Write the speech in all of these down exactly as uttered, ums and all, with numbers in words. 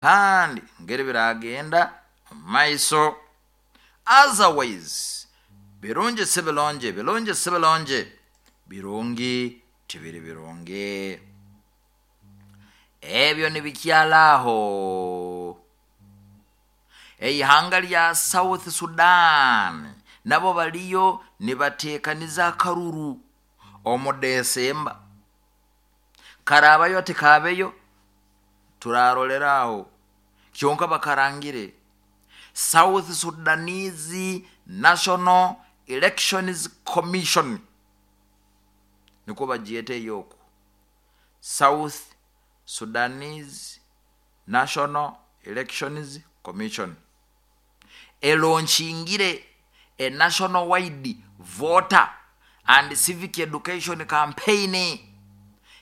Kandi ngeri biragenda omu maiso. Otherwise, birungi si birungi, birungi si birungi, birungi tibiri birungi. Ebyo nibikyala aho. Eihanga lya South Sudan nabo baliyo nibateekaniza akaruru omu Desemba. Karaabayo tikaabeyo, turarolera aho. Kyonka bakarangire South Sudanese National Elections Commission, nikwo bagyeta ey'oku South Sudanese National Elections Commission, elaunchingiire a national wide voter and civic education campaign,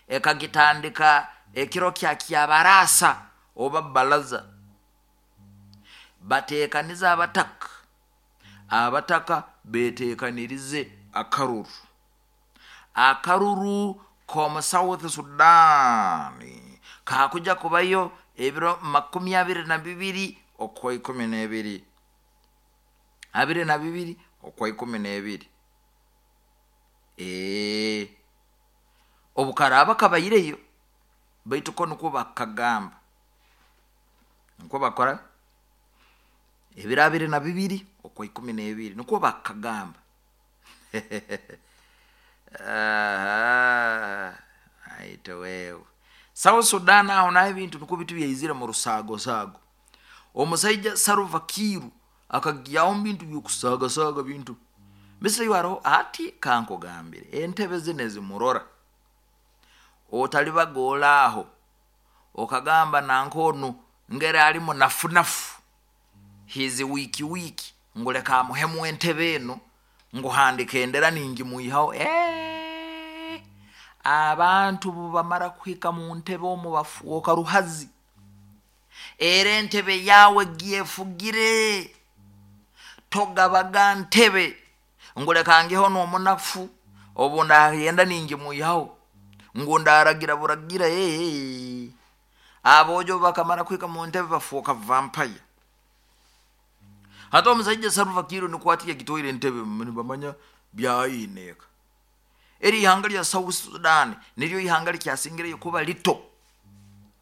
ekagitandika ekiro kya Kyabaraasa oba Baraza. Bateekanize abataka, abataka beteekanirize akaruru, akaruru k'omu South Sudan kakuja kubayo ebiro makumi abiri na bibiri okwa ikumi n'ebiri, abiri na bibiri okwa ikumi n'ebiri. Ee, obu karaaba kabaireyo, baitu ko nukwo bakagamba, nukwo bakora ebiro abiri na bibiri okwa ikumi n'ebiri, nukwo bakagamba. Aite wewe, South Sudan aho naho ebintu nukwo biti byaizire mu rusaago saago. Omusaija Salva Kiir akagyaho mu bintu by'okusaagasaaga bintu mbese haroho. Ati kankugambire, entebe zinu ezimurora, otalibagoora aho okagamba nanka onu ngeri ali munafunafu, he's weak weak, ngu leka amuhemu entebe enu, ngu handika endera ningimwihaho. Eee, abantu bubamara kuhika mu ntebe omu bafuuka ruhazi. Era entebe yawe gyefugire, togabaga ntebe ngu leka ngihe n'omunafu, obu ndagenda ningimwihaho, ngu ndaragira buragira. Ee, aboojo bakamara kuhika mu ntebe bafuuka vampire. Hati omusaija Salva Kiir nikwo ati yagitwaire entebe, nibamanya byayineeka. Eri ihanga lya South Sudan niryo ihanga likyasingireyo kuba lito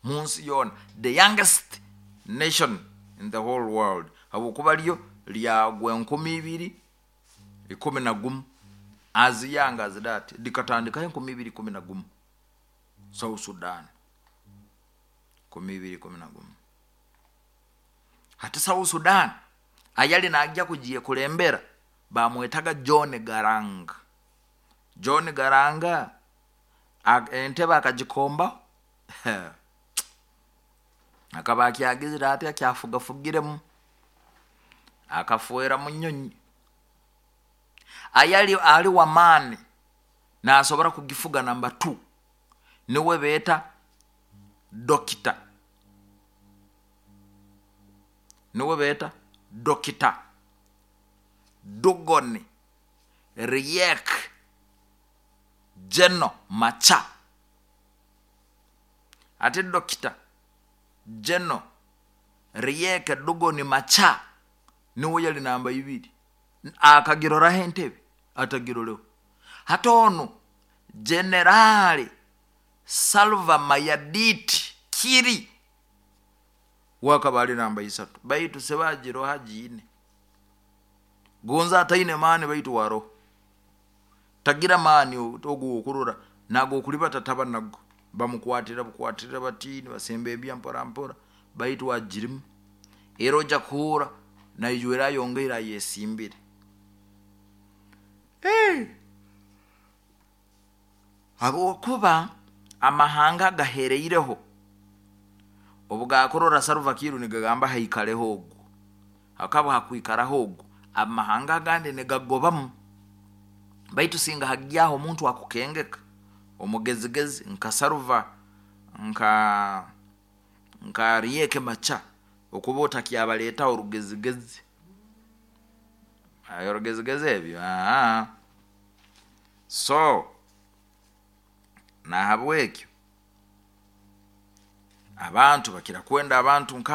mu nsi yoona, the youngest nation in the whole world, habwokuba ryo lyagwa enkumi ibiri ikumi na gumu. As young as that, likatandikaho enkumi ibiri ikumi na gumu. South Sudan, enkumi ibiri ikumi na gumu. Hati South Sudan ayali najya kugiyekulembera bamwetaga John Garang. John Garanga entebe akagikombaho, akaba akyagizire ati akyafugafugiremu, akafwera mu nyonyi. Ayali ali wamaani nasobora kugifuga namba two niwe beeta dokita, niwe beeta Dokita Dugoni Riek Jeno Macha. Ati Dokita Jeno Riek Dugoni Macha niwe yali namba ibiri. Akagiroraho entebe, atagiroleho. Hati onu Generali Salva Mayardit Kiir wakaba ali namba isatu, baitu sebagiroha giine gonza ataine maani, baitu waroho tagira maani ogu okurora nago okulibata taba nago, bamukwatira bukwatira bati nibasemba ebya mpora mpora, baitu agirimu. Era ojja kuhurra naijwera ayongeire ayesimbire. Hey! Habwokuba amahanga agahereireho obu gakurora Salva Kiir nigagamba haikareho ogu, hakaba hakwikaraho ogu, amahanga agandi nigagobamu. Baitu singa hagyaho omuntu akukengeka omugezigezi nka Salva, nka nka Riek Macha, okuba otakyabaletaho orugezigezi, orugezigezi ebyo. Aa, so nahabwekyo Abantu bakira kwenda abantu nka